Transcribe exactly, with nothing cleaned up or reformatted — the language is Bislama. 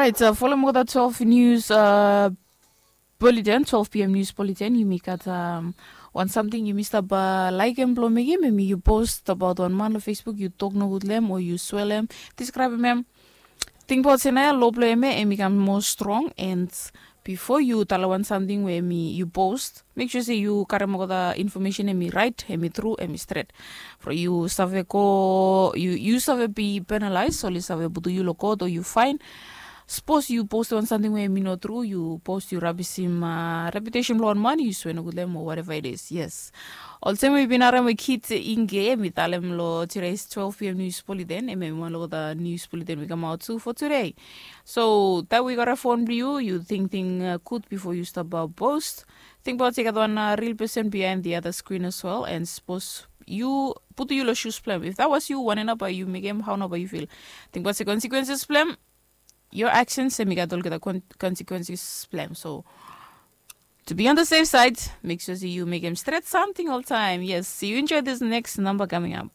Right, uh, folem olgeta twelve news uh, bulletin, twelve p m news bulletin. Yumi gat um, wan samting yumi stap uh, laikim blong mekim, em yu post abaot wan man long Facebook, yu tok nogut long em o yu swelem, diskraibim em. Tingbaot se nao ya lo blong em ya em i kam moa strong, and bifo yu talem wan samting we em i yu post, mek sua se yu karim olgeta infomesen em i rait, em i tru, em i stret. From yu save go, yu, yu save bi penalais, oli save putum yu long kot o yu fain. Sapos yu postim wan samting we em i no tru, yu post, yu rabisim uh, reputesen blong wan man, yu swe nogut long em o whatever it is. Yes. Olsem we yu bin harim we kit inge em i talem long today's twelve p m news bulletin, em em wan long the news bulletin we kamaot tu for today. So taem we gat a phone blong yu, yu tingting uh, gud bifo yu stap uh, post. Tingbaot se gat wan uh, real person behind the other screen as well, and sapos yu putum yu long shoes blong em, if that was you, wanem nao bae yu mekem, hao nao bae yu feel? Tingbaot se consequences blong em, your actions em i gat olgeta consequences blong em. So to be on the safe side, mek sua se yu mekem stret samting oltaem. Yes, see you enjoy this next number coming up.